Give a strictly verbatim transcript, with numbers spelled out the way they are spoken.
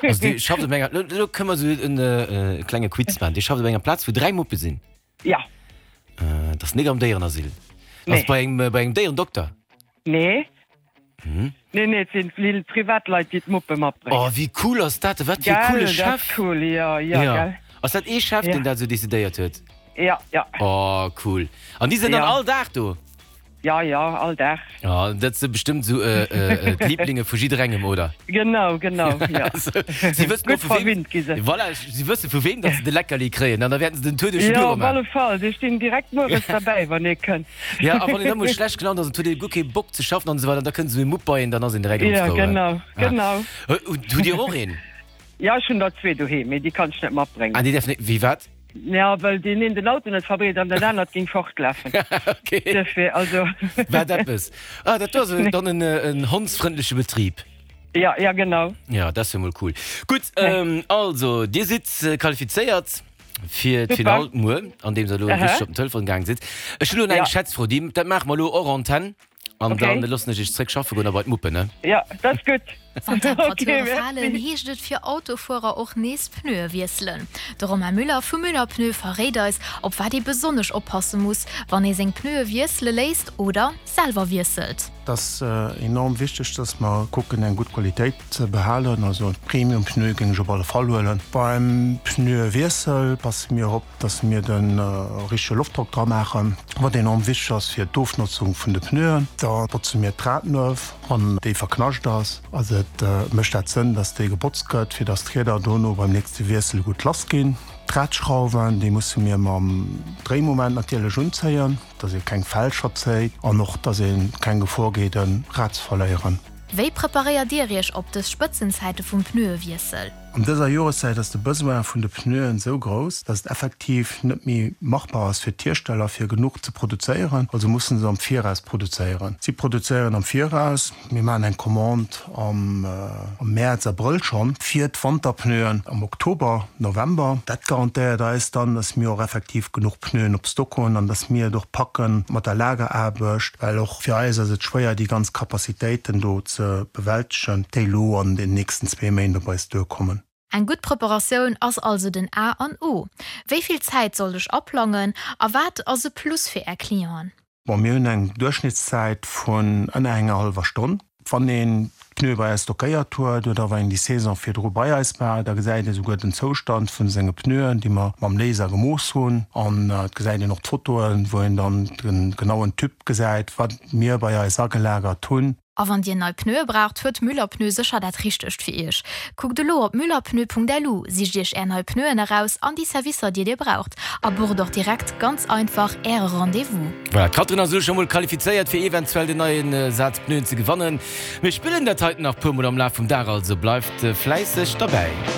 Also Dir schafft op enger, lo kënne mer sou en klenge Quiz maachen. Dir schafft op enger Plaz, wou dräi Muppe sinn? Ja. Dat ass net am Déierenasyl? Nee. Ass bei engem, bei engem Déierendokter? Nee. Hm? Nee, nee, et sinn vill Privatleit, déi d'Muppe matbréngen. Oh, wéi cool ass dat? Wat fir e coole Gell, dat ass Chef! cool, jo, jo, Ja. gell. Ass dat ee Chef, Ja. deen dat esou decidéiert huet? Ja, ja. Oh, cool. An déi sinn dann Ja. all Dag do? Ja, ja, all Dag. Oh, dat si bestëmmt esou d'Lieblinge vu jidderengem, oder? Genau, genau, ja. Si wëssen och Gutt vu weem, verwinnt gi se. voilà, si wësse vu weem, datt se de Leckerli kréien an da wäerten se den Tour duerch de Jo, Büro op alle maachen. Fall, déi stinn direkt mueres derbäi, wann ee kënnt. Ja, a wann een da mol schlecht gelaunt ass an huet ee guer kee Bock ze schaffen an esou weider, da kënnt esou e Mupp bei een, dann ass een direkt erëm Ja, frou, he? genau, genau. Hutt Dir och een? Ja, ech hunn der zwee doheem, mee déi kann ech net matbréngen. Ah, déi däerfen net, wéi wat? Ja, well deen een den Auto net verbreet an dat anert géing fortlafen. Okay. Duerfir, also. Wat eppes. Ah, dat do ass dann en, en hondsfrëndleche Betrib. Ja, ja, genau. Ja, dat ass jo mol cool. Gutt, also, Dir sidd qualifizéiert fir d'Finall muer, andeems Der elo richteg op den Telefon gaang sidd. Ech hunn elo nach eng Schätzfro, déi, dat maache mer elo hors antenne. An okay. dann loossen ech iech zréck schaffe goen a bei d'Muppen, ne? Ja, dat ass gutt. Wann d'Temperature Okay, falen, merci. heescht et fir Autofuerer och nees Pneue wiesselen. De Romain Müller vu Müller Pneu verréit eis, op wat ee besonnesch oppasse muss, wann ee seng Pneue wiessele léisst oder selwer wiesselt. Et ass enorm wichteg, dass mer kucken eng gutt Qualitéit ze behalen, also Premium-Pneu géing ech op alle Fall huelen. Beim Pneuewiessel passe mir op, dass mir de richtege Loftdrock dra maachen, wat enorm wichteg ass fir d'Ofnotzung vun de Pneuen. Da botze mir d'Radnuef, wann déi verknascht ass. Also et mécht dat Sënn, dass déi gebotzt gëtt, fir dass d'Rieder dono beim nächste Wiessel gutt lass ginn. D'Radschrauwen, déi musse mir mam Dréimoment natierlech unzéien, dass ee keng Fälscher zéit an och dass ee keng Gefor geet e Rad ze verléieren. Wéi preparéiert Dir Iech op dës Spëtzenzäite vum Pneuewiessel? An dëser Joreszäit ass de Besoin vun de Pneuen esou grouss, dass et effektiv net méi machbar ass fir d'Hiersteller fir genuch ze produzéieren. Also mussen se am Viraus produzéieren. Si produzéieren am Viraus, mir maachen eng Commande am Mäerz, Abrëll schonn fir d'Wanterpneuen am Oktober, November. Dat garantéiert eis dann, dass mir och effektiv genuch Pneuen op Stock hunn an dass mir et och packe mat der Lageraarbecht, well och fir eis ass et schwéier déi ganz Capacitéiten do ze bewältegen, déi elo an den nächsten zwee Méint op eis duerkommen. Eng gutt Preparatioun ass also den A an O. Wéi vill Zäit sollt ech aplangen a wat ass e Plus fir Är Clienten? Bon, mir hunn eng Duerchschnittszäit vun ënner enger hallwer Stonn. Wann een d'Pneue bei eis stockéiert huet oder wann een déi Saison virdru bei eis war, da gesäit ee souguer den Zoustand vun senge Pneuen, déi mer mam Laser gemooss hunn. An et gesäit een och d'Fotoen, wou een dann de genauen Typ gesäit, wat mir bei eis agelagert hunn. A wann Dir nei Pneue braucht, huet Müller Pneu sécher dat Richtegt fir Iech. Kuckt elo op müllerpneu.lu, sicht Iech Är nei Pneuen eraus an déi Servicer, déi Dir braucht, a bucht och direkt ganz einfach Äre Rendez-vous. Voilà, d'Catherine ass elo scho mol qualifizéiert fir eventuell den neien Saz Pneuen ze gewannen. Mir spillen dat heiten nach puer mol am Laf vum Dag, also bleift fläisseg derbäi.